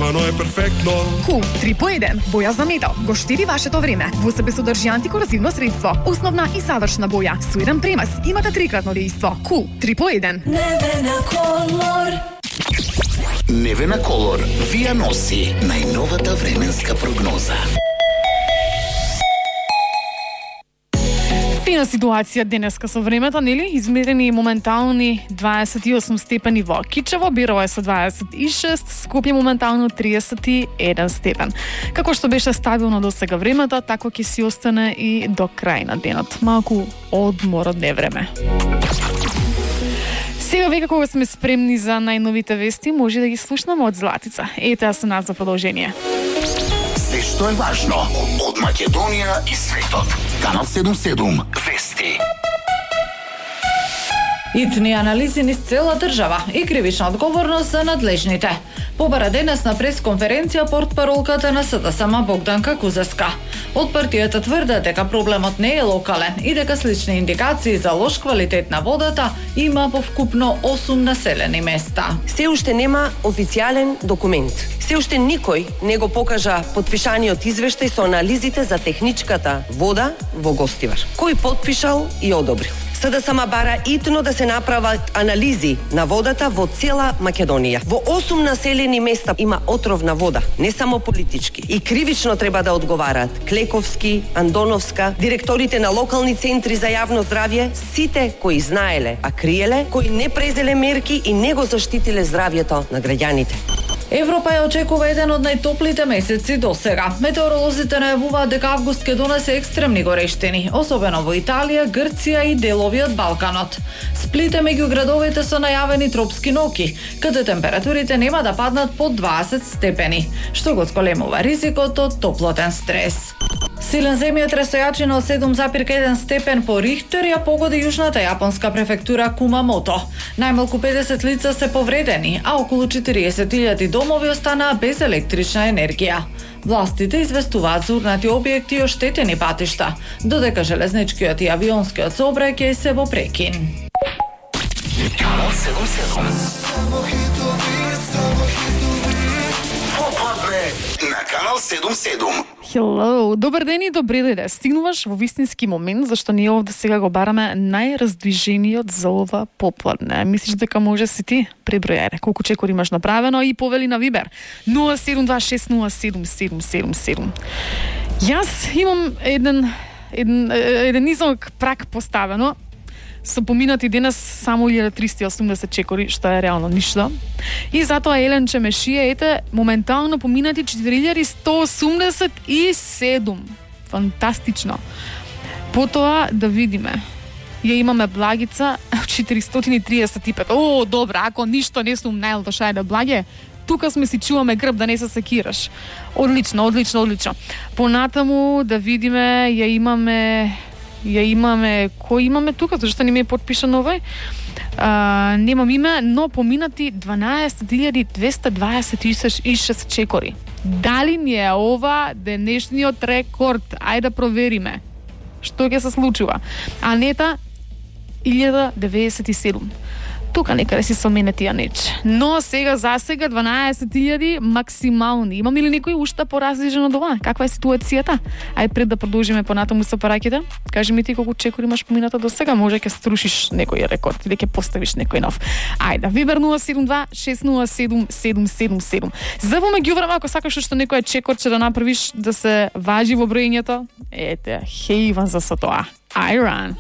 Стварно е перфектно. Cool 3 по 1. Боја за метал. Го штиди вашето време. Во себе содржи антикоразивно средство. Основна и завршна боја. Со еден премаз имате трикратно дејство. Cool 3 по 1. Невена Колор. Невена Колор вија носи најновата временска прогноза. Фина ситуација денеска со времето, нели? Измерени моментални 28 степени во Кичево, Бирово е со 26, Скопје моментално 31 степен. Како што беше стабилно до сега времето, тако ќе си остане и до крај на денот. Малку одмор од невреме. Сега веќе кога сме спремни за најновите вести, може да ги слушнаме од Златица. Ете со нас за продолжение. Се што е важно од Македонија и светот. Канал 77 Вести. Итни анализи низ цела држава и кривична одговорност за надлежните. Побара денес на пресконференција портпаролката на СДСМ Богданка Кузеска. Од партијата тврдат дека проблемот не е локален и дека слични индикации за лош квалитет на водата има во вкупно 8 населени места. Се уште нема официјален документ. Се уште никој не го покажа потпишаниот извештај со анализите за техничката вода во Гостивар. Кој потпишал и одобрил. СДСМ бара итно да се направат анализи на водата во цела Македонија. Во 8 населени места има отровна вода, не само политички. И кривично треба да одговараат Клековски, Андоновска, директорите на локални центри за јавно здравје, сите кои знаеле, а криеле, кои не презеле мерки и не го заштитиле здравјето на граѓаните. Европа ја очекува еден од најтоплите месеци до сега. Метеоролозите најавуваат дека август ќе донесе екстремни горештини, особено во Италија, Грција и делови од Балканот. Сплит е меѓу градовите со најавени тропски ноки, каде температурите нема да паднат под 20 степени, што го зголемува ризикот од топлотен стрес. Силен земјотрес со јачина од 7,1 степен по Рихтер ја погоди јужната јапонска префектура Кумамото. Најмалку 50 лица се повредени, а околу 40.000 домови останаа без електрична енергија. Властите известуваат за урнати објекти и оштетени патишта, додека железничкиот и авионскиот сообраќај се во прекин. Канал 77. Попадне на Канал 77. Hello, добар ден и добре дојде. Стигнуваш во вистински момент, зашто ние овде сега го бараме најраздвижениот за ова попладне. Мислиш дека може си ти? Пребројај колку чекор имаш направено и повели на Вибер 072607777. Јас имам еден низок прак поставено со поминати денес само 1380 чекори, што е реално ништо. И затоа Елен Чемешија, ете, моментално поминати 4187. Фантастично. Потоа да видиме. Ја имаме Благица 435. О, добра, ако ништо не сум најлоша да Благе, тука сме си чуваме грб да не се секираш. Одлично. Понатаму да видиме, ја имаме, кој имаме тука, зашто не ми е подпишан овој. Немам име, но поминати 12.226 чекори. Дали ни е ова денешниот рекорд? Ајде да провериме. Што ќе се случува? Анета 1097. Тука некаде си со мене тие неч. Но сега 12.000 максимални. Имаме ли некој уште поразличен од ова? Каква е ситуацијата? Ајде пред да продолжиме понатаму со параќите. Кажи ми ти колку чекори имаш помината до сега, може ќе струшиш некој рекорд или ќе поставиш некој нов. Ајде, Вибер 072607777. За во меѓувреме, ако сакаш уште некој чекорче да направиш да се важи во броењето, ете, хејван за со тоа. I run.